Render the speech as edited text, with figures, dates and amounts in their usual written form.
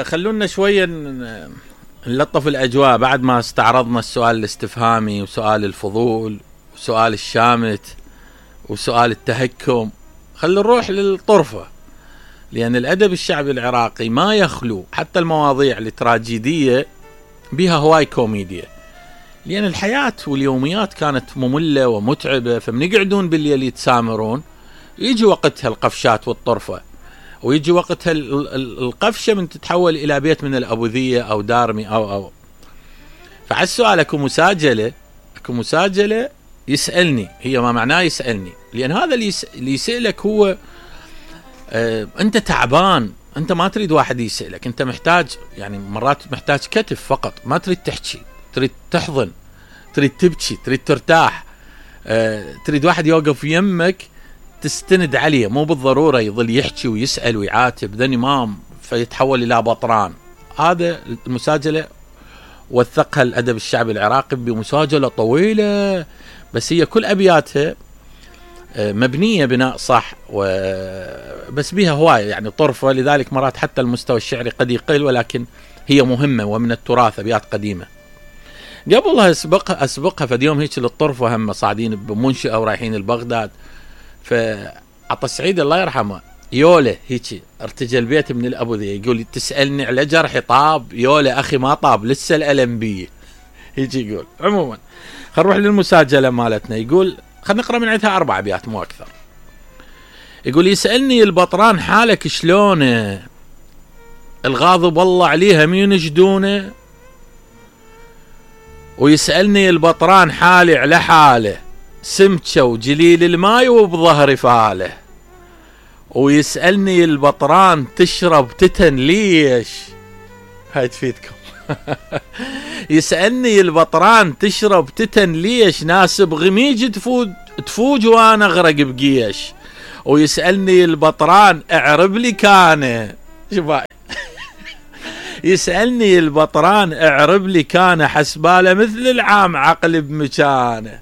خلونا شوية نلطف الأجواء بعد ما استعرضنا السؤال الاستفهامي وسؤال الفضول وسؤال الشامت وسؤال التهكم. خلونا نروح للطرفة، لأن الأدب الشعبي العراقي ما يخلو حتى المواضيع التراجيدية بها هواي كوميديا، لأن الحياة واليوميات كانت مملة ومتعبة، فمن يقعدون بالليل يتسامرون يجي وقتها القفشات والطرفة، ويجي وقتها القفشة من تتحول إلى بيت من الأبوذية أو دارمي أو فعلى السؤال أكو مساجلة يسألني، هي ما معناه يسألني، لأن هذا اللي يسألك هو أنت تعبان، أنت ما تريد واحد يسألك، أنت محتاج، يعني مرات محتاج كتف فقط، ما تريد تحكي، تريد تحضن، تريد تبكي، تريد ترتاح، تريد واحد يوقف يمك تستند عليه، مو بالضرورة يظل يحكي ويسأل ويعاتب ذا إمام فيتحول إلى بطران. هذا المساجلة وثقها الأدب الشعبي العراقي بمساجلة طويلة، بس هي كل أبياتها مبنية بناء صح، بس بها هواية يعني طرفة، لذلك مرات حتى المستوى الشعري قد يقل، ولكن هي مهمة ومن التراث، أبيات قديمة. قبلها أسبقها فد يوم هيك للطرفة، هم صاعدين بمنشأة ورايحين البغداد، فعطى سعيد الله يرحمه يوله هيك ارتجى البيت من الأبوذية، يقول تسألني على جرحي طاب، يوله أخي ما طاب لسه الألم بي، هيك يقول. عموما خل نروح للمساجلة مالتنا، يقول خلنا نقرأ من عندها 4 أبيات مو أكثر. يقول يسألني البطران حالك شلونه، الغاضب والله عليها مين يجدونه، ويسألني البطران حالي على حاله، سمكة وجليل الماي وبظهر فاله، ويسألني البطران تشرب تتن ليش، هاي تفيدكم يسألني البطران تشرب تتن ليش، ناسب غميج تفوج وانا اغرق بقيش، ويسألني البطران اعرب لي كان شباي يسألني البطران اعرب لي كان، حسباله مثل العام عقل بمكانه.